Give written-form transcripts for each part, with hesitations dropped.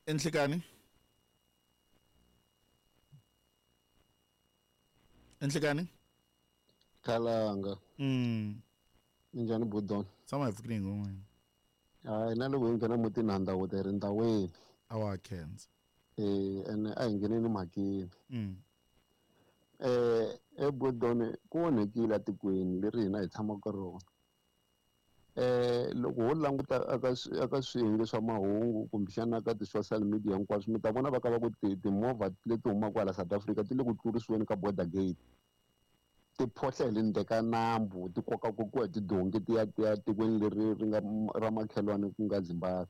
Enhlekani. Enhlekani. Khalanga. Minjhani Budon? Tshama hi pfukile ngoma. Hayi na loko hi nghena mutini ha ndhawu ri ndhaweni. A wa khensa. Ene a hi ngheneni mhakeni. Budon ku onhekile etikweni leri hina hi tshamaka rona. Loko ho languta aka swiyenge swa mahungu kumbexana ka ti-social media hinkwaswo mi ta vona va ka va ku timovha leti humaka hala South Africa ti le ku tlurisiweni ka border gate. Ti phohla hi le ndzeni ka nambu ti kokakokiwa hi tidonki ti ya ti ya tikweni leri ri nga ra makhelwani ku nga Zimbabwe.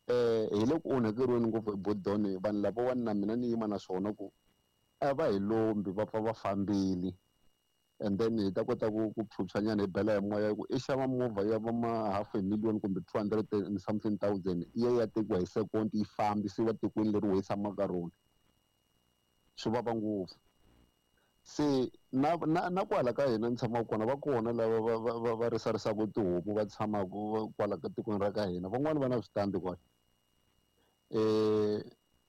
Hi le ku onhakeriweni ngopfu hi Budon vanhu lavawani na mina ni yima na swona ku a va hi lombi va pfa va fambile. And then hi ta kota ku phyuphyanyana hi bela hi moya ku i xava movha ya va ma half a million kumbe 200 and something thousand yi ya tekiwa hi second yi fambisiwa tikweni leri hi tshamaka ka rona. Swi vava ngopfu. Se na na na kwala ka hina ni tshamaka kona va kona lava va risarisaka tihomu va tshamaka kwala ka tikweni ra ka hina van'wani va na switandi kwala.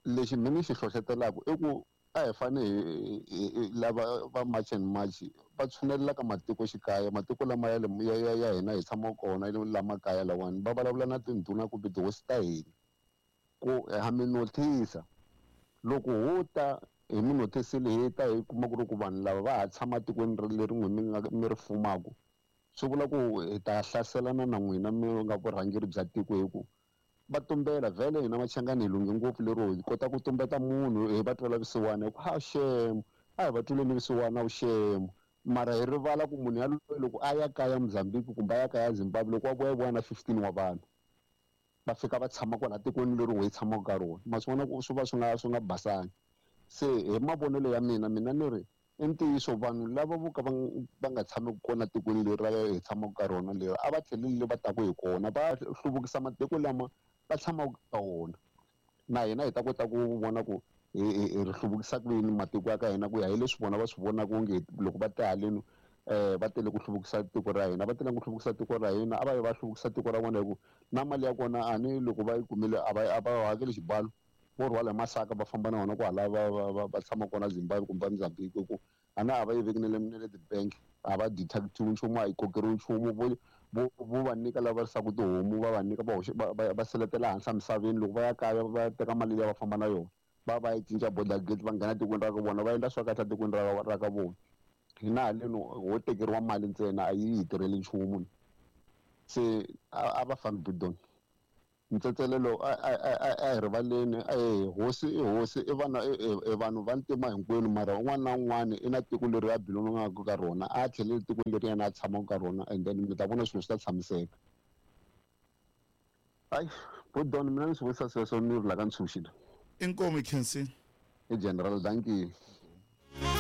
Lexi mina ni xi hlohlotelaka i ku a hi fane hi lava va March and March va tshunelela ka matikoxikaya matiko lama ya ya ya hina hi tshamaka kona lama kaya lawani va vulavula na tindhuna kumbe tihosi ta hina ku ha mi notice loko ho ta hi mi notisile hi ta hi kuma ku ri ku vanhu lava va ha tshama tikweni leri n'wi mi nga mi ri fumaka swi vula ku hi ta hlaselana na n'wina mi nga vurhangeri bya tiko hi ku va tumbela vhele hina Machangani hi lunghe ngopfu lero hi kota ku tumbeta munhu hi va twela vusiwana hi ku ha shame a hi va tweleni vusiwana vushemu mara hi rivala ku munhu yaloye loko a ya kaya Mozambique kumbe a ya kaya Zimbabwe loko a vuya vuya na 15 wa vanhu va fika va tshama kwala tikweni leri hi tshamaka ka rona ma swi vona ku swi va swi nga basangi. Se hi mavonelo ya mina mina ni ri i ntiyiso vanhu lava vo ka va nga tshameki kona tikweni leri ra hi tshamaka ka rona leri a va tlheleli va taku hi kona va hluvukisa matiko lama va tshamaka ka wona na hina hi ta kota ku vona ku hi ri hluvukisa ku yini matiko ya ka hina ku ya hi leswi vona va swi vonaka onge loko va te haleni va tele ku hluvukisa tiko ra hina va tele ku hluvukisa tiko ra hina a va yi va hluvukisa tiko ra vona hi ku na mali ya kona a ni loko va yi kumile a va hakeli xibalo vo rhwala hi masaka va famba na wona kwala va tshama kona Zimbabwe kumbe Mozambique ku a na a va yi veki na le ti-bank a va detectiwi nchumu a yi kokeriwi nchumu vo va nyika lava risaka tihomu va va nyika va va seletela hansi emisaveni loko va ya kaya va teka mali liya va famba na yona va va yi cinca border gate va nghena tikweni ra ka vona va endla swa kahle tikweni ra ka vona. Hina haleni ho tekeriwa mali ntsena a yi hi tirheli nchumu. Se a va fambi Budon. Ntsetselelo a hi rivaleni hosi i hosi i vana i vanhu va ntima hinkwenu mara un'wana na un'wana i na tiko leri a belongaka ka rona a tlheleli tikweni leri yena a tshamaka ka rona and then mi ta vona swilo swi ta tshamiseka. Hayi Budon mina ni swi vutisa sweswo ni ri la ka ntshunxile. Inkomu Khensi. I General, thank you.